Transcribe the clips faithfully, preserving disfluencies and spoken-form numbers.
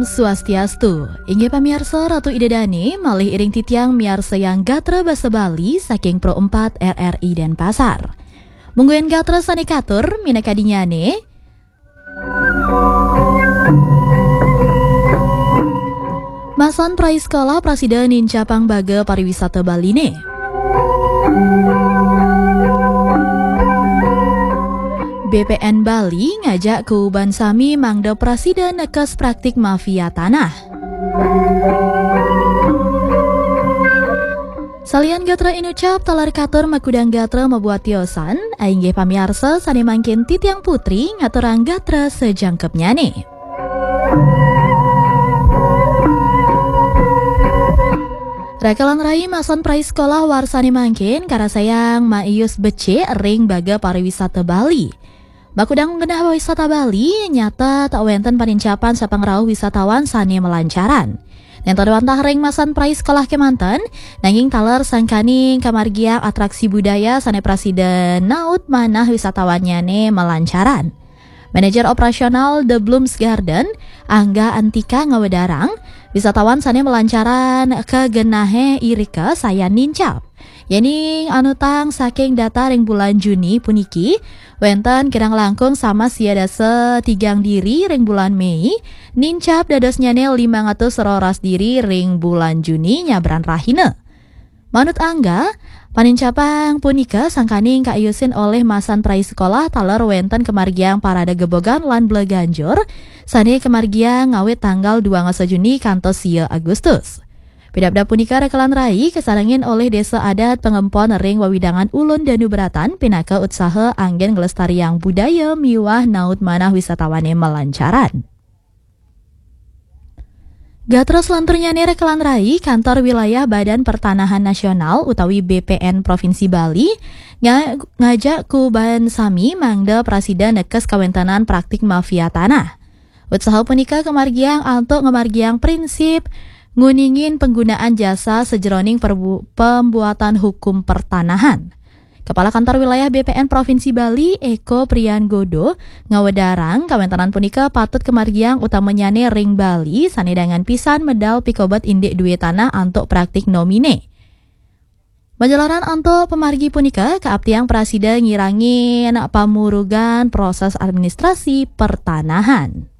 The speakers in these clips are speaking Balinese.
Swastiastu. Inggih pamiarsa, Ratu Ida Dane malih iring titiang miarsayang gatra basa Bali saking Pro empat R R I Denpasar. Mungguing gatra sane katur minakadinyane, masan prai sekolah prasida nincapang baga pariwisata Baline. B P N Bali ngajak kuuban sami mangda prasida nekes praktik mafia tanah. Salian gatra inucap taler katur makudang gatra mabuat tiosan, inggih pamiarsa sane mangkin titiang Putri ngaturang gatra sajangkepnyane. Rakalan rai, masan prai sekolah warsane mangkin karasayang maius becik ring baga pariwisata Bali. Makudang genah wisata Bali, nyata tak wenten panincapan sapangrauh wisatawan sane malancaran. Nenten wantah ring masan prai sekolah kemanten, nanging taler sangkaning kamargiang atraksi budaya sane prasida naut manah wisatawan nyane malancaran. Manajer operasional The Blooms Garden, Angga Antika, ngawedarang, wisatawan sane malancaran ka genahe irika sayan nincap. Yening anutang saking data ring bulan Juni puniki, wenten kirang langkung sama sia dasa tigang diri ring bulan Mei, nincap dadosnyane limang atus roras diri ring bulan Juni nyabran rahina. Manut Angga, panincapang punika sangkaning kaiusin olih masan prai sekolah taler wenten kamargiang parade gebogan lan bleganjur, sane kamargiang ngawit tanggal dua ngasa Juni kantos sia Agustus. Pidabdab punika rakalan rai kasarengin olih Desa Adat Pangempon ring wewidangan Ulun Danu Beratan pinaka utsaha anggen nglestariang budaya miwah naut manah wisatawane malancaran. Gatra selanturnyane rakalan rai, Kantor Wilayah Badan Pertanahan Nasional utawi B P N Provinsi Bali nga-, ngajak kuuban sami mangda prasida nekes kawentenan praktik mafia tanah. Utsaha punika kamargiang antuk ngamargiang prinsip nguningin panggunaan jasa sajeroning perbu-, pembuatan hukum pertanahan. Kepala Kantor Wilayah B P N Provinsi Bali, Eko Prian Godo, ngawedarang kawentenan punika patut kamargiang utamanyane ring Bali sane dangan pisan medal pikobet indik due tanah antuk praktik nomine. Majalaran antuk pamargi punika kaaptiang prasida ngirangin pamurugan proses administrasi pertanahan.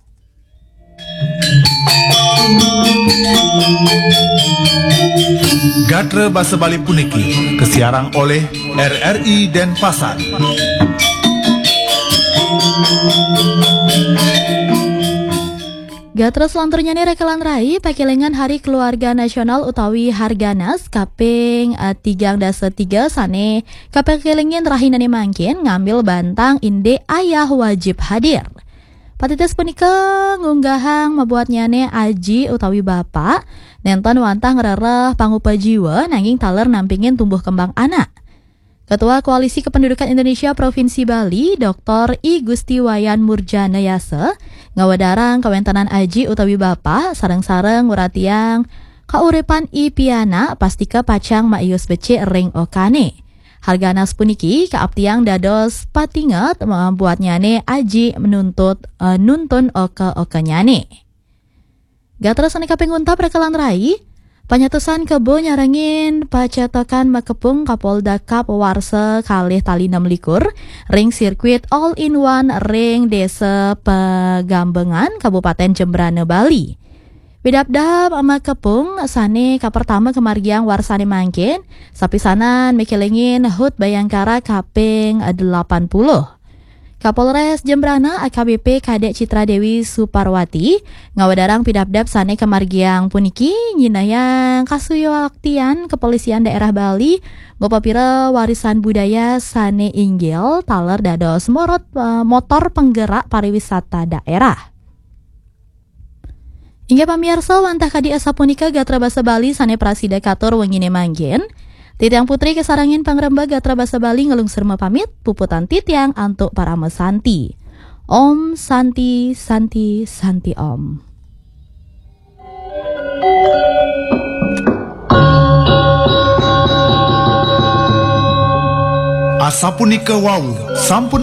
Gatra basa Bali puniki kasiarang oleh R R I Denpasar. Gatra selanturnyane rakalan rai, pakelingan Hari Keluarga Nasional utawi Harganas kaping, eh, tigang dasa tiga sane kapakelingin rahinane mangkin ngambil bantang indik ayah wajib hadir. Patitis punika ngunggahang mabuatnyane aji utawi bapak, nenten wantah ngrereh pangupa jiwa nanging taler nampingin tumbuh kembang anak. Ketua Koalisi Kependudukan Indonesia Provinsi Bali, Doktor I Gusti Wayan Murjana Yasa, ngawedarang kawentenan aji utawi bapak sareng-sareng nguratiang kauripan i pianak pastika pacang maius becik ring okane. Harganas puniki kaaptiang dados patinget, eh, buatnyane aji menuntut, eh, nuntun oka-okanyane. Gatra sane kaping untat rakalan rai, panyatusan kebo nyarengin pacetokan makepung Kapolda Cup warsa kalih tali enam likur ring sirkuit all in one ring Desa Pagambengan, Kabupaten Jembrana, Bali. Pidabdab makepung sane kapertama kamargiang warsane mangkin, sapisanan mikelingin hut Bayangkara kaping delapan puluh. Kapolres Jembrana A K B P Kadek Citra Dewi Suparwati ngawedarang pidabdab sane kamargiang puniki nyinayang kasuyaktian Kepolisian Daerah Bali ngupapira warisan budaya sane inggil taler dados morot, eh, motor penggerak pariwisata daerah. Inggih pamiarsa, wantah kadi asapunika gatra basa Bali sane prasida katur wengine mangkin. Titiang Putri kasarengin pangrembag gatra basa Bali ngelungsur mapamit, puputang titiang antuk parama santi. Om Santi, Santi, Santi Om. Asapunika wau sampun